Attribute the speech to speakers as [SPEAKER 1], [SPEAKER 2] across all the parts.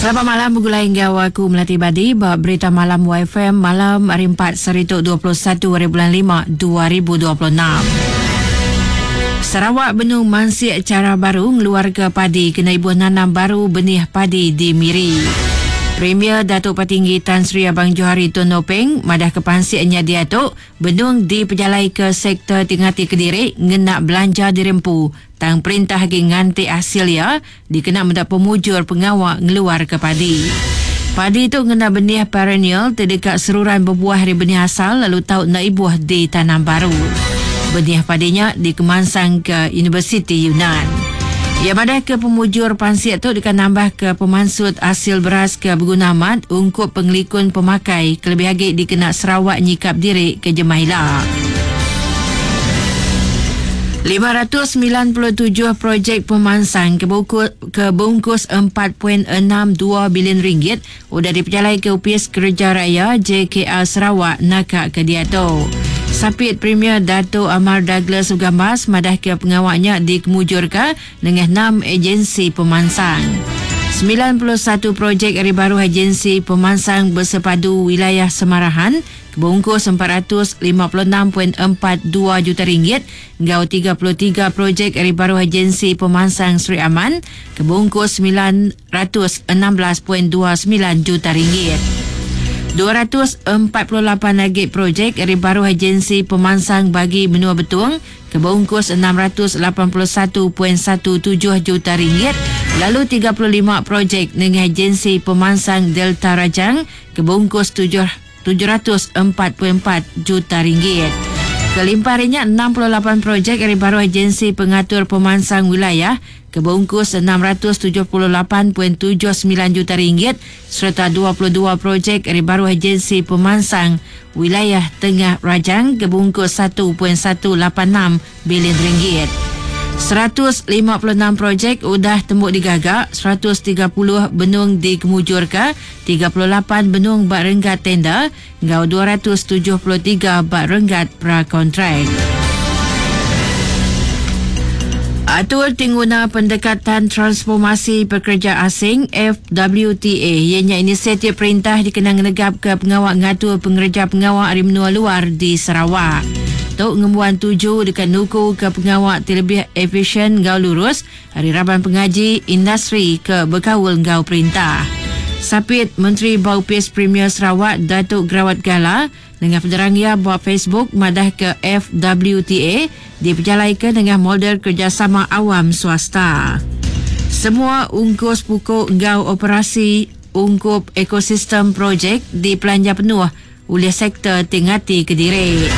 [SPEAKER 1] Selamat malam begulai enggau aku Melati Badi ba Berita Malam YFM malam hari 4 sehari tu 21 hari bulan 5 2026. Sarawak benung mansik chara baru ngeluarka padi kena ibuh nanam baru benih padi di Miri. Premier Datuk Patinggi Tan Sri Abang Johari Tun Openg madahka pansik nya diatu benung dipejalaika sektor ti ngati kediri ngena belanja diri empu tang perintah agi nganti asil iya dikena meda pemujur pengawa ngeluarka padi. Padi tu ngena benih perennial ti deka seruran bebuah ari benih asal lalu tau enda ibuh ditanam baru. Benih padi nya dikemansangka Universiti Yunnan. Iya madahka pemujur pansik tu deka nambahka pemansut asil beras ke beguna amat ungkup pengelikun pemakai kelebih agi dikena Sarawak nyikap diri ke jemah ila. 597 projek pemansang ke ke beungkus 4.62 bilion ringgit udah dipejalaika Opis Kereja Raya JKR Sarawak naka ke diatu. Sapit Premier Datuk Amar Douglas Ugambas madahka pengawa nya dikemujurka nengah enam agensi pemansang. 91 projek ari baruh Agensi Pemansang Bersepadu Wilayah Samarahan Bungkus 456.42 juta ringgit enggau 33 projek ari baruh Agensi Pemansang Sri Aman ke bungkus 916.29 juta ringgit. 248 agi projek ari baruh Agensi Pemansang Bagi Menua Betong ke beungkus 681.17 juta ringgit lalu 35 projek nengah Agensi Pemansang Delta Rajang ke beungkus 744 juta ringgit. Kelimpah ari nya, 68 projek ari baruh Agensi Pengatur Pemansang Wilayah ke beungkus 678.79 juta ringgit sereta 22 projek ari baruh Agensi Pemansang Wilayah Tengah Rajang ke beungkus 1.186 bilion ringgit. 156 projek udah tembu digaga, 130 benung dikemujurka, 38 benung ba renggat tender enggau 273 ba renggat prakontrak. Atur ti nguna Pendekatan Transformasi Pekereja Asing, FWTA, iya nya inisiatif perintah dikena ngenegapka pengawa ngatur pengereja pengawa ari menua luar di Sarawak. Tu ngembuan tuju deka nukuka pengawa ti lebih efisyen enggau lurus ari raban pengaji industri ke bekaul enggau perintah. Sapit Menteri ba Opis Premier Sarawak Datuk Gerawat Gala nengah penerang iya ba Facebook madahka FWTA dipejalaika nengah model kerejasama awam swasta. Semua ungkus puku enggau operasi ungkup ekosistem projek dipelanja penuh ulih sektor ti ngati kediri.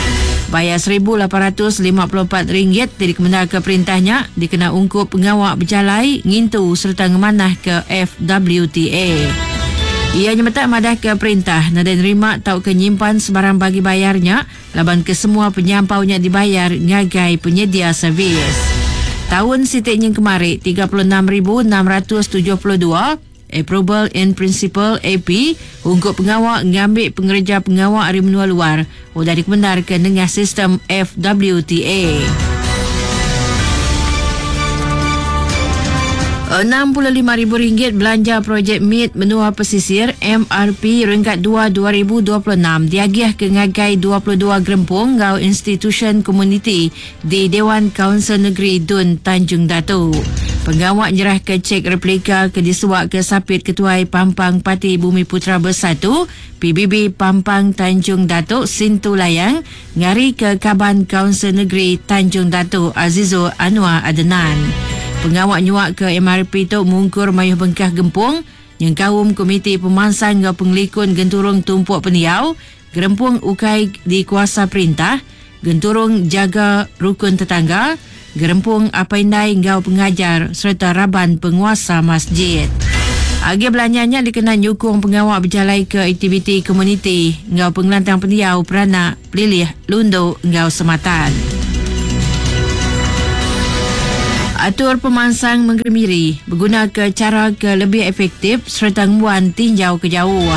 [SPEAKER 1] Bayar 1854 ringgit ti dikemendarka perintah nya dikena ungkup pengawa bejalai, ngintu sereta ngemanahka FWTA. Iya nyemetak madahka perintah nadai nerima tauka nyimpan sebarang bagi bayar nya laban kesemua penyampau nya dibayar ngagai penyedia servis. Taun siti nyin kemari, 36,672 Approval in Principle, AP, ungkup pengawa ngambi pengereja pengawa ari menua luar udah dikemendarka nengah sistem FWTA. 65 ribu ringgit belanja projek mit menua pesisir MRP renggat 2 2026 diagihka ngagai 22 gerempung enggau institusyen komuniti di Dewan Kaunsil Negeri Dun Tanjung Datu. Pengawa nyerahka chek replika ke disuaka Sapit Ketuai Pampang Parti Bumiputera Bersatu, PBB, Pampang Tanjung Datu Sintu Layang ngarika Kaban Kaunsil Negeri Tanjung Datu Azizul Anwar Adenan. Pengawa nyuaka MRP tu mungkur mayuh bengkah gempung nyengkaum Komiti Pemansang enggau Pengelikun Genturung Tumpuk Pendiau, Gerempung Ukai Dikuasa Perintah, Genturung Jaga Rukun Tetangga, Gerempung Apai Indai enggau Pengajar sereta raban penguasa masjid. Agih belanja nya dikena nyukung pengawa bejalaika aktiviti komuniti enggau pengelantang pendiau peranak pelilih Lundu enggau Sematan. Atur Pemansang Mengeri Miri begunaka chara ke lebih efektif sereta ngembuan tinjau ke jauh.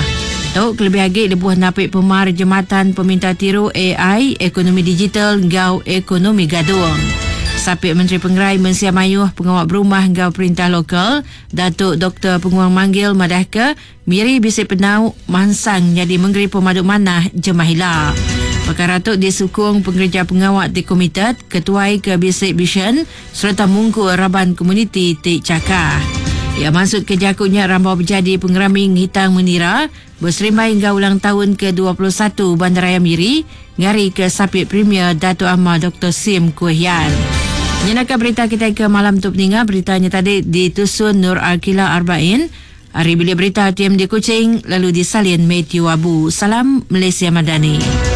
[SPEAKER 1] Tu kelebih agi lebuh napi pemar jematan peminta tiru ai, ekonomi digital enggau ekonomi gadung. Sapit Menteri Pengerai Mensia Mayuh, Pengawa Berumah enggau Perintah Lokal, Datuk Doktor Penguang Manggil madahka Miri bisi penau mansang nyadi mengeri pemadu manah jemah ila. Pekara tu disukung pengereja pengawa ti komited, ketuai ke bisi visyen sereta mungkur raban komuniti ti chakah. Iya mansutka jaku nya rambau bejadi pengerami Ngitang Menira beserimbai enggau ulang taun ke 21 Bandaraya Miri ngarika Sapit Premier Datuk Amar Doktor Sim Kui Hian. Nyenaka berita kitai ke malam tu peninga berita nya tadi ditusun Nur Arkila Arbain ari Bilik Berita TMD Kuching lalu disalin Mathew Abu. Salam Malaysia Madani.